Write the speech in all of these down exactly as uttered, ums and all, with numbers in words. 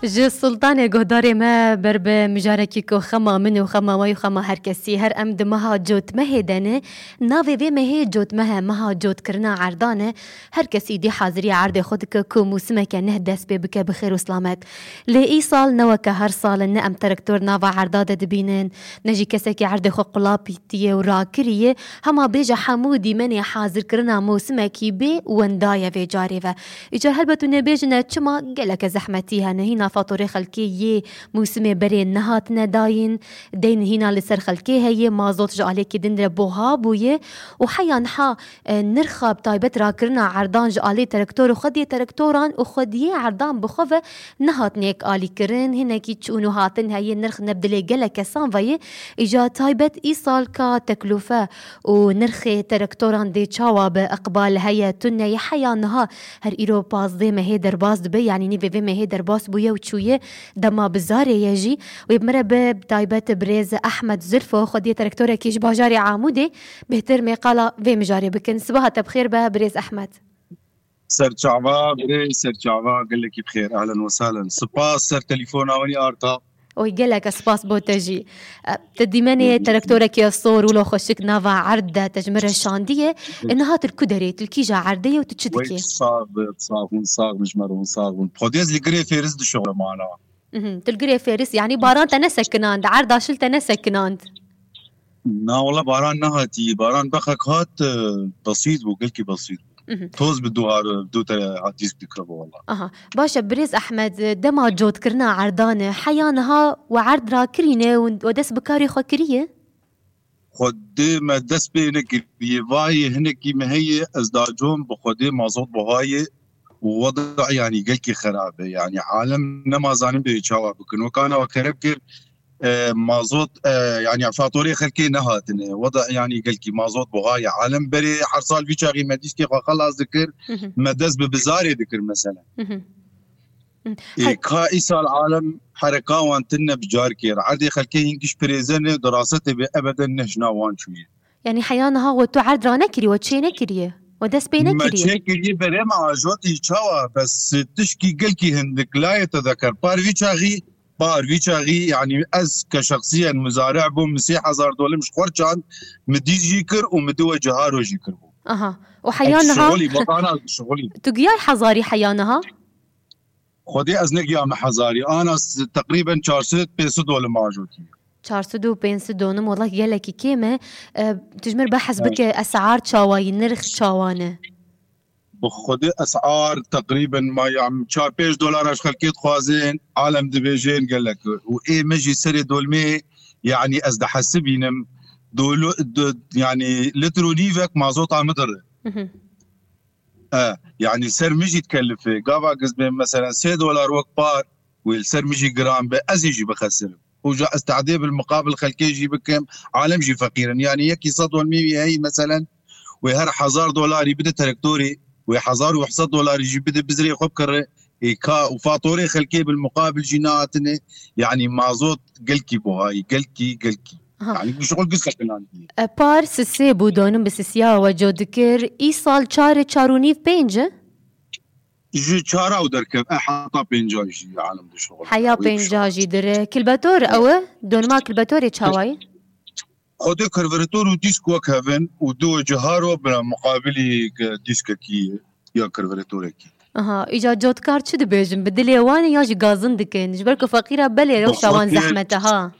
Ji Sultanê guhdarê me ber bi mijarekî ku xema min û xema we û xema her kesî, her em di meha cotmehê de ne. Navê vê mehê cotmeh e, meha cotkirina erdan e. Her kes îdî hazirî erdê xwe dike ku mûsimeke neh dest pê bike bi xêr û silamet. Lê îsal ne weke her sal in, ne em traktor nava erda de dibînin, ne jî kesekî erdê xwe qulapîtiye û rakiriye. Hema bêje hemû dîmenê hazirkirina mûsimekî bê wenda ye vê carê ve. Îcar helbet hûn ê bêjin e, çima geleke zehmetî hene, hîna fatorê xelkê yê mûsimê berê nehatine dayîn, deyn hîna li ser xelkê heye, mazot ji alêkî din re buha bûye û heya niha, e, nirxa bi taybet rakirina erdan ji alê terektor û xwediyê terektoran û xwediyê erdan bi xwe ve nehatine yek alîkirin, hinekî çûn û hatin heye, nirx ne bi dilê gelek kesan ve ye. Îja taybet îsal ka teklûfe û nirxê terektoran dê çawa be, iqbal heye, tune ye, heya niha her îro pazdeh mehê derbas dibe, yanî nîvê vê mehê derbas bûye û çûye dema bizarê ye jî. Wê bi me re bi taybet birêz Ehmed Zulfo, xwediyê terektorekî ji bajarê Amûdê, bêhtir mê qala vê mijarê bikin. Sibaha te bi xêr be, birêz Ehmed. Serçava, birêz, serçava, gelekî bi xêr, ehlen we sehlen. Spas ser telefona we nî arta. Oy, gelek spas bo te jî. E, te dîmenê terektorekî sor wilo xweşik nava erd de te ji min re şandiye. E, niha tu li ku derê, tu li kîja erdê ye û tu çi dikî? Sax be, sax bûn, sax bûn, ji me re hûn sax bûn. Xwedê ez li girê fêris dişewim ana. Mhm, tu li girê fêris, yanî baran te nesekinand, erda şil te nesekinand? Na, wala baran nehatî. Baran bexek hat, e, besît bû, gelkî besît bû. Mhm. Toz bi duhar, du te hat dîsk dikiribû wala. Aha. Baş e, birêz Ehmed, dema cotkirina erdan e, heya niha we erd rakirîne û we dest bi karê xwe kiriye? Xwedê me dest pê nekiriye. Vayê hinekî me heye, ez dacom bi Xwedê mazot buha ye û weda yanî gelkî xerab e. Yanî alem nema zanin bê çawa bikin. Wekana we kerem kir, e, mazot, e, yanî fatorê xelkê nehatine. Weda yanî gelkî mazot buha ye. Alem berê her sal vî çaxî me dîskê xwe xelas dikir, Mhm. me dest bi bizarê dikir mesela. Mhm. Ê, He- ka îsal alem hereka wan tune bi car kir. Erdê xelkê hîn giş pirêze ne, di rasetê bê ebeden ne jina wan çûye. Yanî heya niha we tu erd ranekirî, we çê nekiriye, we dest pê Me nekiriye? Çê kiriye berê me ajotî çawa, bes tişkî gelkî hindik layê te dekir. Par vî çaxî, par vî çaxî, yanî ez ke şexsiyen muzare bûm, min sê hezar dolim ji xwe çand, min dîs jî kir û min diwe ciharo jî kir bû. Aha. Û heya Ez niha şixulî, bak ana şixulî. Tu giyay hezarî heya niha? Xwedê ez negiyame hezarî. Ana s-, teqrîben çar sed pênc sed dolim ajotî. Çar sed û pênc sed donim, wela gelekî kêm e. E, tu ji min re behs He. bike, esar çawa ye, nirx çawa ne? Bi Xwedê esar teqrîben ma ya çar pênc dolar ji xelkê dixwazin, alem dibêjin gelek. Û ê me jî serê dolmê, yanî ez dihesibînim, dolu-, du-, yanî litr û nîvek mazota min dire. Mhm. E, yanî ser min jî dikelife. Gava giz bê, meselen, sê dolar wek par, wê li ser min jî giran be, ez ê jî bixesirim. Û ja ez tehdê bil muqabil xelkê jî bikim, alem jî feqîr in. Yanî yekî sed dolmî wî heyî, meselen, wê her hezar dolarî bide terektorê, wê hezar û heft sed dolarî jî bide bizrê xwe bikire. Ê ka û fatorê xelkê bil muqabil jî nehatine. Yanî mazot gelkî buhayî, gelkî, gelkî. Aha. Yanî bu şixul giz sekinandî. E, par sisê bû, donim bi sisiya we co dikir. Îsal çar e, çar û nîv, pênc e? Ji çara û derkev, e, heta pênca jî alem dişixul. Heya Wê pênca şixul. jî dire. Kilbetor ew e? Donima kilbetorê çawa ye? Xwedê karburetor û dîsk wek hev in û du ciharo bi muqabilî dîskekî ya karburetorekî. Aha, îca cotkar çi dibêjin? Bi dilê wan e ya jî gazin dikin? Ji ber ku feqîra belê Bi rewşa wan xwedê zehmet e, ha.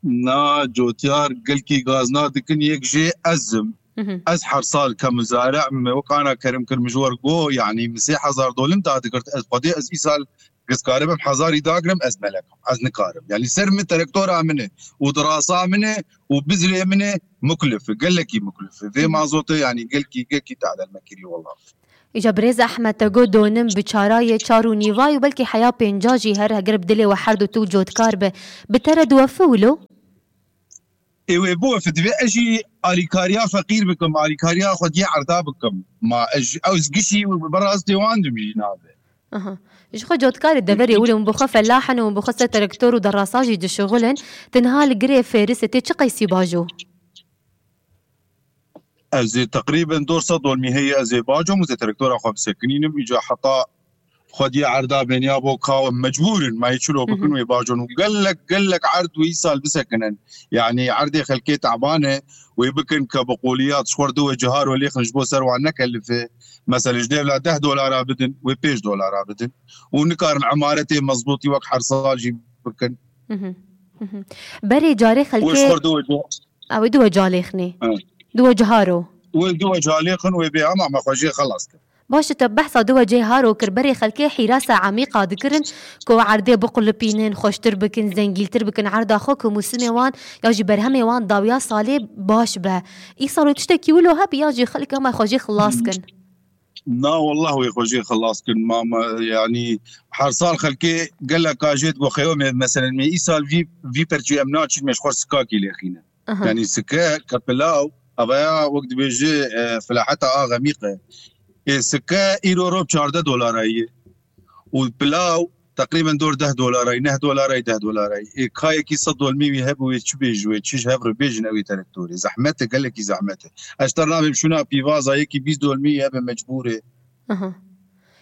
Na, cotyar gelkî gazna dikin, yek jê ez im. Mhm. Ez her sal ke muzare me wekana kerim kir, min ji wer got, yanî min sê hezar dolim da digirt, ez xwedê ez îsal giz karibim hezarî dagirim, ez melek im. Ez nikarim. Yanî ser min terektora min e û dirasa min e û bizrê min e, muklif e, gelekî muklif e. Vê mazotê yanî gelkî, gelkî tadel me kirî wela. Îca birêz Ehmed te got donim bi çara yê çar û nîva û belkî heya pênca jî her heger bi dilê we her du tu cotkar be. Bi te re diwefe wilo? Ê wê biwefe, divê ez jî alîkariya feqîr bikim, alîkariya xwediyê erda bikim. Ma ez, ez gişî bi rastê wan dim jî nabe. Aha. Ji xwe cotkarê deverê wilo hûn bi xwe felah in û hûn bi xwe ser terektor û derasa jî dişixulin. Tu niha li girê fêrisê tê çi qeysî bajo? Ez ê teqrîben dor sed dolmî heye, ez ê bacom û zê terektora xwe bisekinînim. Îca heta Xwediyê erda bêniya bo ka mecbûr in, ma yê çilo bikin wê bajon û gelek, gelek erd wê îsal bisekinin. Yanî erdê xelkê teban e, wê bikin ke bi qoliyat ji xwe re du wecihar wê lêxin ji bo ser wan nekelife. Mesela ji dêvla deh dolara bidin, wê pênc dolara bidin. Û nikarin emaretê mezbûtî wek her sal jî bikin. Berê carê xelkê ew ê du wecih. Ew ê du wecih lêxinê. Du wecihar o. Wê du wecih lêxin wê bê hema me xwe jê xelas kir. Baş e, te behsa du wecihar o kir, berê xelkê hîrasa emîqa dikirin ku erdê biqulipînin, xweştir bikin, zengîltir bikin, erda xwe ku mûsimê wan ya jî berhemê wan dawiya salê baş be. Îsal wê tiştekî wilo hebe ya jî xelk hema xwe jê xilas kin? Na wallah wê xwe jê xilas kin. Ma, ma, yanî her sal xelkê geleka jê digo xeyo me, meselen me îsal vî, vî perçî em naçîn me ji xwe sikakî lêxîne. Aha. Yanî sike ke pilaw, evaya wek dibêje, e, filaheta a xemîq e. Ê sike îro rob çardeh dolara ye. Û pilaw teqrîben dor deh dolara ye, neh dolara ye, deh dolara ye. Ê kayekî sed dolmî wî hebû wê çi bêjin, wê çi ji hev re bêjin, ew ê terektorê. Zehmet e, gelekî zehmet e. Ez ter nabêm şûna pîvaza yekî bîst dolmî hebe mecbûr e. Aha.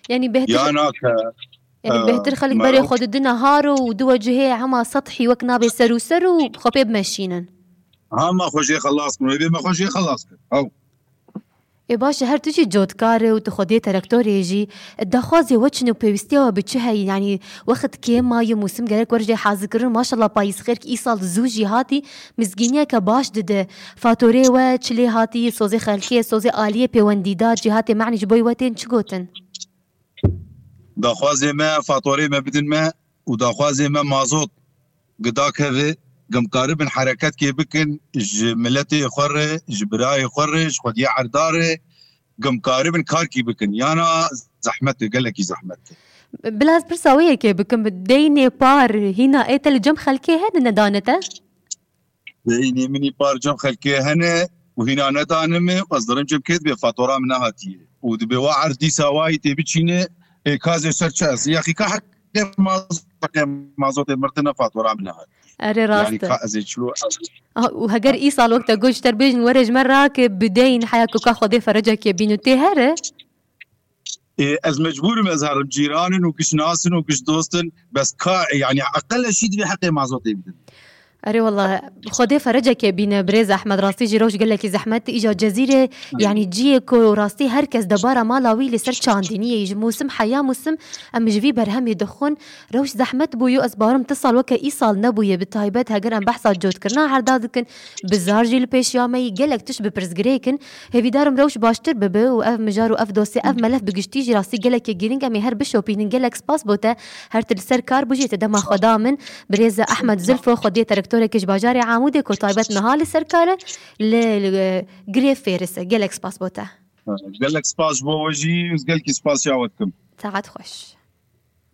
Yanî bêhtir, Yana ke, yanî e, bêhtir xelk berê xwe didine haro û du wecihê hema sethî wek nabê ser û ser û xwe pê bimeşînin. Hema xwe jê xelas kin, wê bê me xwe jê xelas kin. Ew. Ê baş e, her tu jî cotkar e û tu xwediyê terektorê jî, daxwazê we çin û pêwîstiya we bi çi heyî? Yanî wext kêm maye, mûsim gerek were jê hazirkirin. Maşallah payîz xêr ki îsal zû jî hatî, mizgîniyeke baş dide. Fatorê we çi lê hatî, sozê xelkê, sozê aliyê pêwendîdar, cîhatê me'nî ji bo we tên çi gotin? Daxwazê me, fatorê me bidin me û daxwazê me mazot gidak heve, gimkaribin hereketke bikin ji miletê xwe re, ji birayê xwe re, ji xwediya erda re, gimkaribin karkî bikin. Yana zehmet e, gelekî zehmet e. Bila ez pirsa wê yekê bikim, deynê par hîna ê te li cem xelkê hene nedane te? Deynê min î par cem xelkê hene û hîna nedane min, ez dirim cem kê dibe fatora min nehatiye. Û dibe wa erd dîsa wayî tê biçîne, ê kazê ser çi ez? Yaqî ka heqê mazotê, heqê mazotê mirtine fatora min nehatiye. Erê rast e. Yanî ka ez ê çilo. Ah, û heger îsal wek te got ji te re bêjin were ji me rake, bi deyn heya ku ka Xwedê ferecekê bîne tê here. Ê, ez mecbûr im ez herim. Cîran in û giş nas in û giş dost in. Bes ka, yanî eqel şî divê heqê mazotê bidin. Erê wela, Xwedê ferecekê bîne birêz Ehmed. Rastî jî rewş gelekî zehmet. Îja Cezîrê, yanî ciyê ku rastî her kes debara mala wî li ser çandiniyê, ji mûsim heya mûsim em ji vî berhemê dixwin. Rewş zehmet bûye, ez bawerim ti sal weke îsal nebûye, bi taybet heger em behsa cotkirina herda dikin, bizar jî li pêşiya me yî, gelek tişt bi pirsgirêk in. Hêvîdar im rewş baştir bibe û ev mijar û ev dosye, ev melef bi giştî jî rastî gelekî girîng em ê her bişopînin. Gelek spas bo te, her tu li ser kar bû jî te dema xwe da min. Birêz Ehmed Zilfo, xwediyê terektorekê ji bajarê Amûdê ku taybet niha li ser kar e, li, li, girê fêris e. Gelek spas bo te. Gelek spas ji bo we jî û gelkî spasiya we dikim. Saet xweş.